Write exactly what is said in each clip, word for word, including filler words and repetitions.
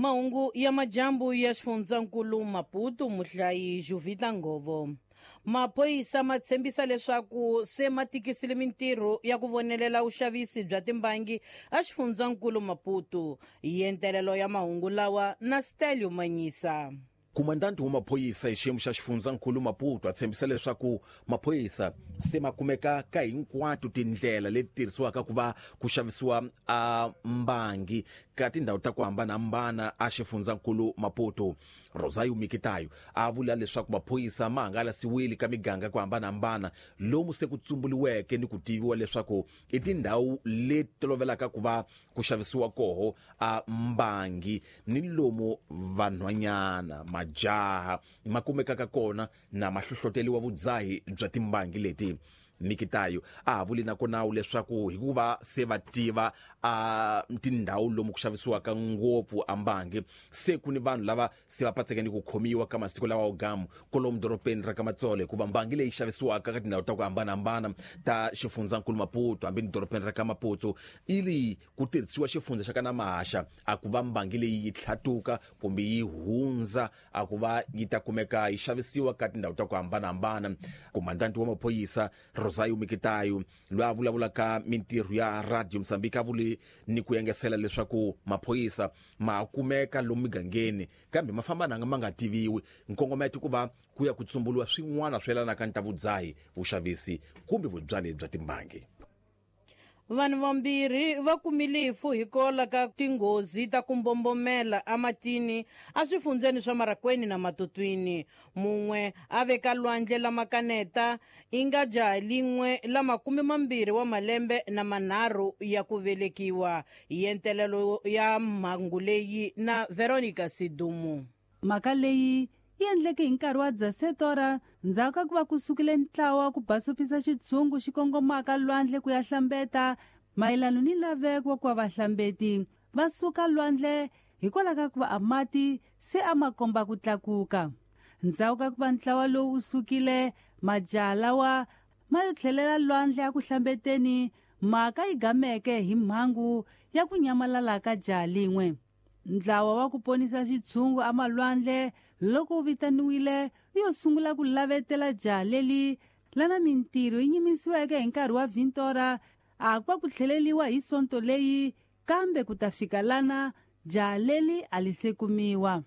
Mahungu ya majambu ya xifundzankulu Maputo muhlayi Juvita Ngovo. Maphorisa ma tshembisa leswaku se ma tikisile mintirho ya ku vonelela vuxavisi bya timbangi a xifundzankulu Maputo. Yentelelo ya mahungu lawa na Stelio Manyisa. Komandanti wa maphorisa hi xiyimo xa xifundzankulu Maputo a tshembisa leswaku maphorisa se ma kumeka ka hinkwato tindlela leti tirhisiwaka ku va ku xavisiwa a mbangi ka tindhawu ta ku hambanahambana a xifundzankulu Maputo. Rosario Mikitayo a vula leswaku maphorisa ma hangalasiwile ka miganga ku hambanahambana lomu se ku tsumbuliweke ni ku tiviwa leswaku i tindhawu leti tolovelaka ku va ku xavisiwa koho a mbangi ni lomu vanhwanyana majaha ma kumekaka kona na mahlohloteliwa vudzahi bya timbangi leti. Mikitayo a vuli na kona leswaku hikuva se va tiva a tindhawu lomu ku xavisiwaka ngopfu a mbangi se ku ni vanhu lava se va patseke ni ku khomiwa ka masiku lawa ogamu kolomu doropeni ra ka Matsolo hikuva mbangi leyi xavisiwaka ka tindhawu ta ku hambanahambana ta xifundzankulu Maputo hambi ni doropeni ra ka Maputo ili ku tirhisiwa xifundza xa ka Namaxa a ku va mbangi leyi yi tlhatuka kumbe yi hundza a ku va yi ta kumeka yi xavisiwa ka tindhawu ta ku hambanahambana. Komandanti wa maphorisa Rosario Mikitayo loyi a vulavulaka mintirho ya Radio Mozambique a vule ni ku yengesela leswaku maphorisa ma kumeka lomu migangeni kambe ma famba nanga ma nga tiviwi nkongometo ku va ku ya ku tsumbuliwa swin'wana swi yelanaka ni ta vudzahi vuxavisi kumbe vubyali bya timbangi. Vanhu vambirhi va kumile rifu hikwalaho ka tinghozi ta ku mbombomela ematini eswifundzeni swa Marakweni na Matutwini. Mun'we a veka lwandle la Makaneta i nga jaha lin'we la makume mambirhi wa malembe na manharhu ya ku velekiwa. Yentelelo ya mhangu leyi na Veronica Sidumu. Mhaka leyi yi endleke hi nkarhi wa Dzasetora ndzhaku ka ku va ku sukile ntlawa ku basopisa xitshungu xi kongomaka lwandle ku ya hlambeta mayelano ni laveko wa ku va vahlambeti va suka lwandle hikwalaho ka ku va a mati se a ma komba ku tlakuka. Ndzhaku ka ku va ntlawa lowu wu sukile majaha lawa ma yo tlhelela lwandle a ku hlambeteni mhaka yi gameke hi mhangu ya ku nyamalala ka jaha lin'we. Ntlawa wa ku ponisa xitshungu amalwandle loko wu vitaniwile wu yo sungula ku lavetela jaha leli lana mintirho yi nyimisiweke hi nkarhi wa Vintora a ku va ku tlheleliwa hi sonto leyi kambe ku ta fika lana jaha leli a li se kumiwa.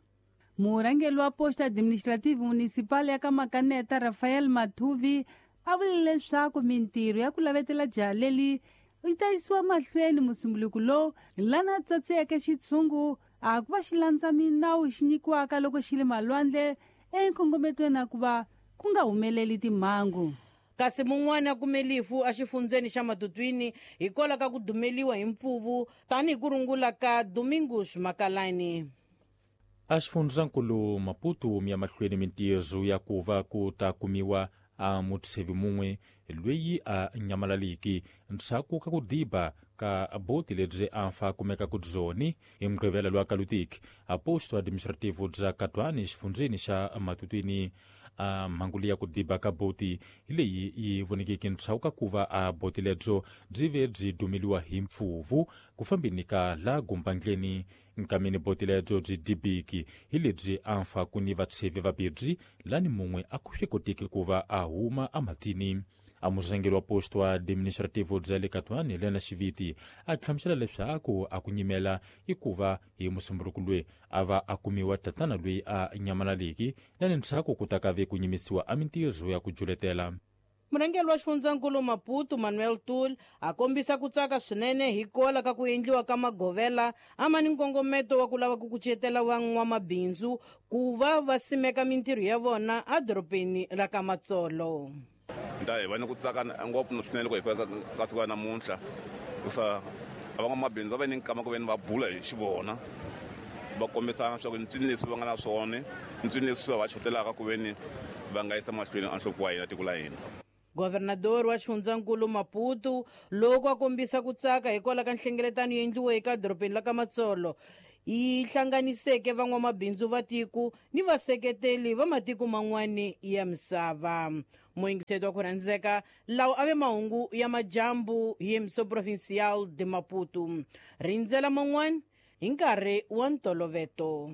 Murhangeri wa Posto Administrative Municipal ya ka Makaneta Rafael Mathuvi a vule leswaku mintirho ya ku lavetela jaha leli yi ta yisiwa mahlweni musumbuluko lowu lana tsatseke xitshungu a ku va xi landza minawu xi nyikiwaka loko xi le malwandle enkongometweni a ku va ku nga humeleli timhangu. Kasi mun'wana a kume lifu exifundzeni xa Matutwini hikwalaho ka ku dumeliwa hi mpfuvu tanihi ku rungula ka Domingos Makalani. A xifundzankulu Maputo mi ya mahlweni mintirho ya ku va ku ta kumiwa a mutshevi mun'we loyi a nyamalaliki ndzhaku ka ku diba ka boti lebyi a fa kumeka ku dzoni hi Mugqivela lwa Kalutiki a posto administrativo bya Katwani xifundzeni xa Matutwini. A mhangu leyi ya ku diba ka boti hi leyi yi vonekeke ndzhaku ka ku va a boti lebyo byi ve byi dumeliwa hi mpfuvu ku fambeni ka la gumbandleni. Nkameni boti lebyo byi dibiki hi lebyi a fa ku ni vatshevi vabirhi lani mun'we a ku swi koteki ku va a huma ematini. A murhangeri wa posto administrativo bya le Katwani Lena Xiviti a hlamusela leswaku a ku nyimela i ku va hi musumbuluko loyi a va a kumiwa tatana loyi a nyamalaliki lani ndzhaku ku ta ka ve ku nyimisiwa a mintirho ya ku juletela. Murhangeri wa xifundzankulu Maputo Manuel Tul a kombisa ku tsaka swinene hikwalaho ka ku endliwa ka magovela a ma ni nkongometo wa ku lava ku kucetela van'wamabindzu ku va va simeka mintirho ya vona edorobeni ra ka Matsolo. Nta hi va ni ku tsaka ngopfu swinene loko hi fika ka siku ra namuntlha hikusa van'wamabindzu va ve ni nkama ku ve ni va bula hi xivona va kombisa leswaku ntswini leswi va nga na swona ntswini leswi va xotelaka ku ve ni va nga yisa mahlweni a nhloko wa hina tiko la hina. Governador wa xifundzankulu Maputo loko a kombisa ku tsaka hikwalaho ka nhlengeletano yi endliweke eka dorobeni la ka Matsolo yi hlanganiseke van'wamabindzu va tiko ni vaseketeli va matiko man'wani ya misava. Muyingiseti wa ku rhandzeka lawa a ve mahungu ya majambu hi Emissão Provincial de Maputo. Rindzela man'wani hi nkarhi wa ntoloveto.